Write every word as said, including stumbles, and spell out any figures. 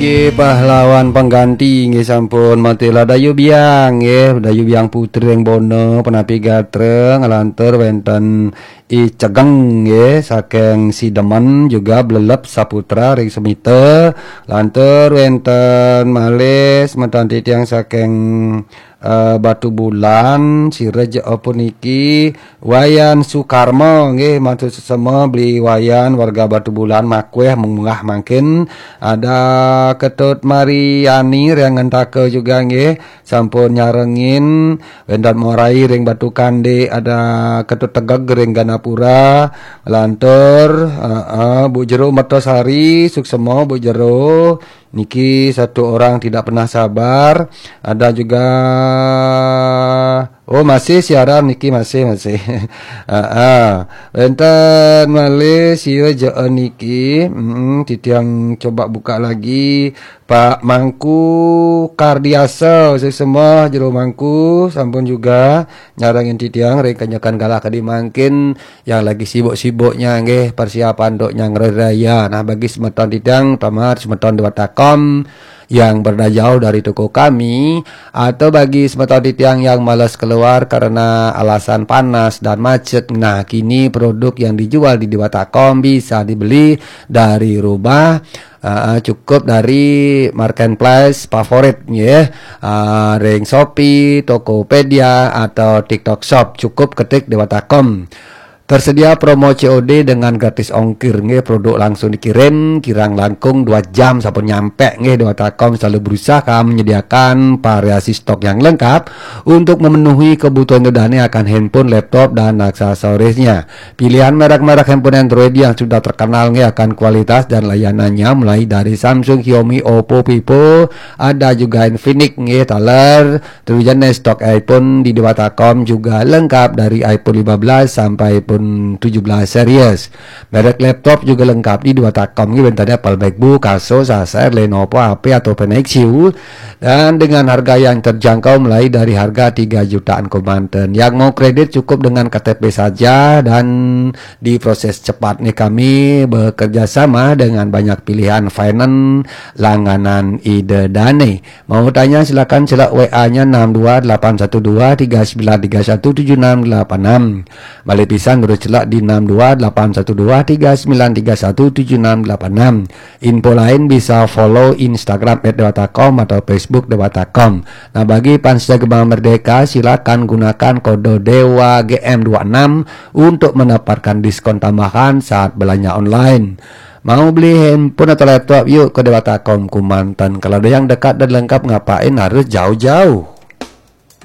Nggih, pahlawan pengganti nggih sampun matilah Dayu Biang nggih, Dayu Biang Putri ring Bono, Penapi Gatra, nglantur wenten I Cegeng nggih, saking Sidemen juga Blelep Saputra ring Semita, lantur wenten malih semeton titiang saking eh, Batu Bulan, sira jaa puniki Wayan Sukarma nggih, matur sesama Beli Wayan warga Batu Bulan, makweh munggah mangkin, ada Ketut Mariani ring Ngentaka juga nggih, sampun nyarengin, wenten Morai ring Batu Kande, ada Ketut Tegeg ring Ganapura, lantur, eh, eh, Bu Jero Mertasari, suksema Bu Jero, niki satu orang tidak pernah sabar. Ada juga, oh, masih siaran niki, masih, masih. Ah, ah. Wenten malih sira jaa niki. Mm, titiang coba buka lagi. Pak Mangku Kardiasa, suksema Jero Mangku, sampun juga nyarengin titiang ring kenyekan galah kadi mangkin yang lagi sibuk-sibuknya nggih persiapan untuk nyang Hari Raya. Nah, bagi semeton titiang, terutama semeton Dewata Kom yang berada jauh dari toko kami, atau bagi semeton titiang yang malas keluar karena alasan panas dan macet, nah, kini produk yang dijual di Dewata Kom bisa dibeli dari rumah, uh, cukup dari marketplace favorit nggih, uh, ring Shopee, Tokopedia, atau TikTok Shop. Cukup ketik Dewata Kom. Tersedia promo C O D dengan gratis ongkir nggih, produk langsung dikirim, kirang langkung dua jam sampun nyampe nggih. Dewata Kom selalu berusaha menyediakan variasi stok yang lengkap untuk memenuhi kebutuhan Ida Dane akan handphone, laptop, dan aksesorisnya. Pilihan merek-merek handphone Android yang sudah terkenal nggih akan kualitas dan layanannya, mulai dari Samsung, Xiaomi, Oppo, Vivo, ada juga Infinix nggih, taler. Terus jenis stok iPhone di Dewata Kom juga lengkap dari iPhone lima belas sampai iPhone tujuh belas series. Merek laptop juga lengkap di Dewata Kom nggih, wenten Apple MacBook, Asus, Acer, Lenovo, H P, atau Nexus, dan dengan harga yang terjangkau mulai dari harga tiga jutaan kemanten. Yang mau kredit cukup dengan K T P saja dan diproses cepat nih. Kami bekerja sama dengan banyak pilihan finance langganan Ida Dane. Mau tanya silakan celak W A-nya enam dua delapan satu dua tiga sembilan tiga satu tujuh enam delapan enam. Balik pisan terus celak di enam dua delapan satu dua tiga sembilan tiga satu tujuh enam delapan enam. Info lain bisa follow Instagram at dewata com atau Facebook Dewata Com. Nah, bagi fans Gema Merdeka, silakan gunakan kode Dewa G M dua enam untuk mendapatkan diskon tambahan saat belanja online. Mau beli handphone atau laptop, yuk ke Dewata Com Kumantan. Kalau ada yang dekat dan lengkap, ngapain harus jauh-jauh?